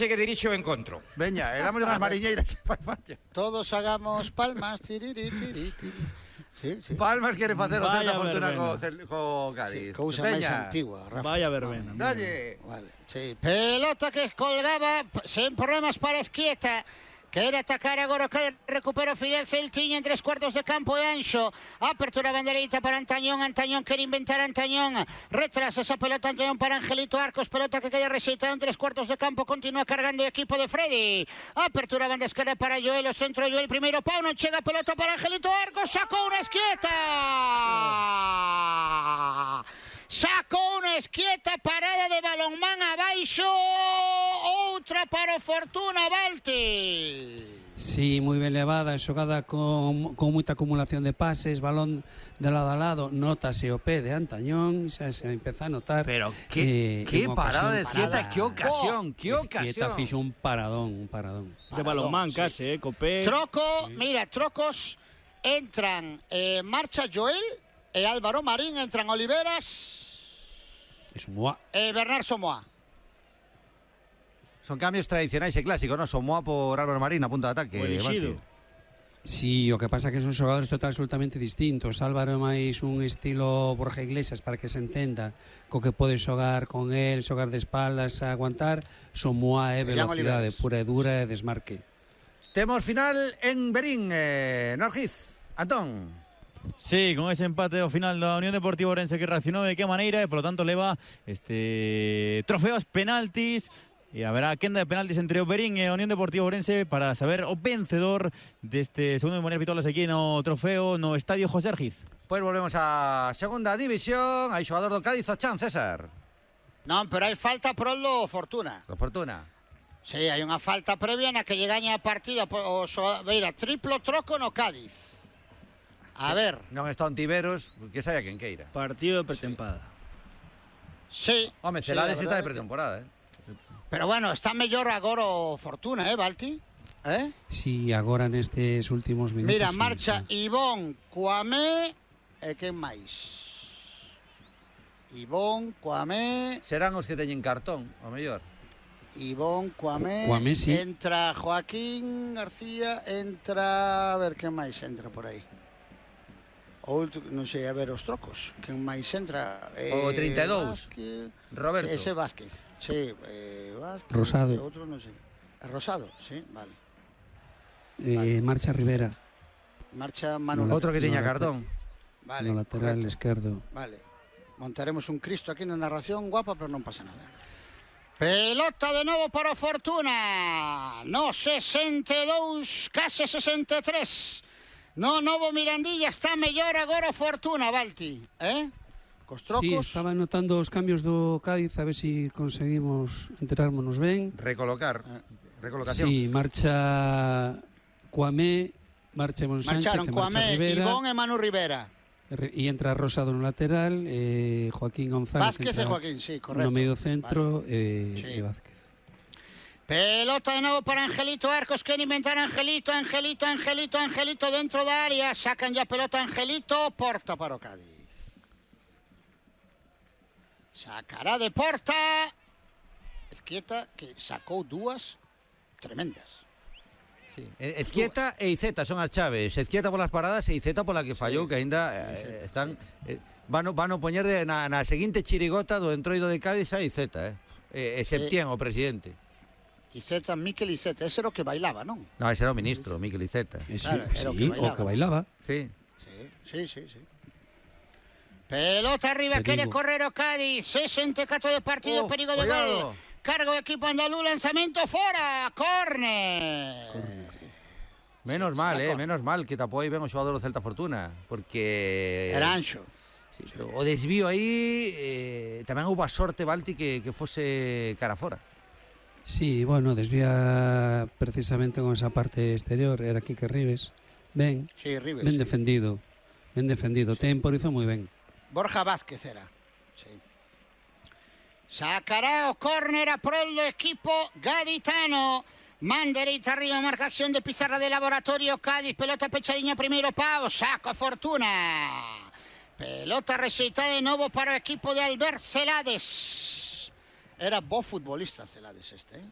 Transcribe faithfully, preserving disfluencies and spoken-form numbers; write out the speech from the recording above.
que dirixe o encontro. Veña, e damos unhas mariñeiras. Todos hagamos palmas. Tiriri, tiriri, tiriri. Sí, sí. Palmas quere facer o Vaya Celta Fortuna verbena. co, Cel- co Cádiz. Sí, cousa máis Veña, antigua, Rafa. Vaya verbena. dalle. Vale, sí. Pelota que colgaba sen problemas para Esquieta. Quere atacar agora que recupera o Fidel Celtiña en tres cuartos de campo e Anxo. Apertura bandereita para Antañón. Antañón quere inventar Antañón. Retrasa esa pelota Antañón para Angelito Arcos. Pelota que queda rexeitada en tres cuartos de campo. Continúa cargando o equipo de Freddy. Apertura banda esquerda para Joel. O centro Joel. Primeiro pau. Non chega a pelota para Angelito Arcos. Sacou unha Esquieta. Sacou unha Esquieta, parada de balonmán abaixo, outra para o Fortuna, Balti. Sí, moi ben levada, xogada con, con moita acumulación de pases, balón de lado a lado, notase o pé de Antañón, xa se empeza a notar. Pero que, eh, que unha parada de ocasión Esquieta, parada. que ocasión, que Esquieta ocasión. fixo un paradón, un paradón. De balonmán sí. case, eh, copé. Troco, mira, trocos, entran, eh, marcha Joel e Álvaro Marín, entran Oliveras Es un moa. e Bernard Somoa. Son cambios tradicionais e clásicos, non? Somoa por Álvaro Marín a punta de ataque. O elixido. Balti. Sí, o que pasa que son xogadores total absolutamente distintos. Álvaro é máis un estilo Borja Iglesias para que se entenda, co que pode xogar con el, xogar de espaldas, a aguantar. Somoa é Jan velocidade Oliveras. pura e dura e desmarque. Temos final en Berín, eh, Norgiz. Antón. Sí, con ese empate ao final da Unión Deportiva Ourense que reaccionou de que maneira e, polo tanto, leva este trofeos penaltis e haberá quenda de penaltis entre o Berín e a Unión Deportiva Ourense para saber o vencedor deste segundo de María Pitolas aquí no trofeo no Estadio José Argiz. Pois volvemos á segunda división. Hai xogador do Cádiz, o Chan, César. Non, pero hai falta pro do Fortuna. Do Fortuna. Sí, hai unha falta previa na que lle gaña a partida o xogador, veira, triplo troco no Cádiz. A ver, Non está Ontiveros, que saia quen queira. Partido de pretempada. sí. Home, sí, Celades a está de verdade. pretemporada, eh? Pero bueno, está mellor agora o Fortuna, eh, Balti? Eh? Sí, agora nestes últimos minutos. Mira, sí, marcha sí. Ivón, Cuamé e quen máis? Ivón, Cuamé, Serán os que teñen cartón, o mellor. Ivón, Cuamé, Cuamé, sí. entra Joaquín García, entra, a ver quen máis entra por aí. O último, non sei, a ver os trocos, quen máis entra? O trinta e dous. Vázquez, Roberto. ese Vázquez, sí, eh, Vázquez, Rosado. e outro non sei. É Rosado, sí, vale. Eh, marcha Rivera, Marcha Manuel. Outro que tiña no, cartón. Vale, no lateral correcto. esquerdo. Vale. Montaremos un Cristo aquí na narración guapa, pero non pasa nada. Pelota de novo para o Fortuna. No sesenta e dous, case sesenta e tres. No novo Mirandilla está mellor agora o Fortuna, Balti, eh? Cos trocos. Sí, estaba notando os cambios do Cádiz, a ver se si conseguimos enterármonos ben. Recolocar. Recolocación. Sí, marcha Cuamé, marcha Ivón Sánchez, Marcharon e marcha Cuamé, Rivera. Ivón e Manu Rivera. E entra Rosado no lateral, eh, Joaquín González Vázquez e entra Joaquín, sí, correcto. no medio centro, Vale. eh, Sí. e Vázquez. Pelota de novo para Angelito Arcos, que inventar Angelito, Angelito, Angelito, Angelito dentro da área. Sacan ya pelota Angelito, porta para o Cádiz. Sacará de porta. Esquieta, que sacou dúas tremendas. Sí. Ezquieta e Iceta son as chaves. Ezquieta polas paradas e Iceta pola que fallou, que aínda eh, están eh, van, van a poñer de, na, na seguinte chirigota do entroido de Cádiz a Iceta, eh. E, e Septién, o presidente. Iceta, Miquel Iceta, ese era o que bailaba, non? No, ese era o ministro, Miquel Iceta. Eh, sí, Claro, era sí, o que bailaba. o que bailaba. Sí. Sí, sí, sí, sí. Pelota arriba, Perigo. quere correr o Cádiz. sesenta e catro de partido, Uf, perigo de cuidado. gol. Cargo o equipo andaluz, lanzamento fora, córner. Menos mal, eh, menos mal que tapou aí ben o xogador do Celta Fortuna, porque Era Anxo. sí, pero o desvío aí eh, tamén houve a sorte, Balti, que, que fose cara fora. Sí, bueno, desvía precisamente con esa parte exterior, era Quique Rives. Ben, Sí, Rives. ben sí. defendido, ben defendido. Temporizo moi ben. Borja Vázquez era. Sí. Sacará o córner a prol do equipo gaditano. Man dereita arriba, marca acción de pizarra de Laboratorio Cádiz. Pelota pechadiña, primeiro pau, saco a Fortuna. Pelota rexeitada de novo para o equipo de Albert Celades. Era bo futbolista Celades este, eh?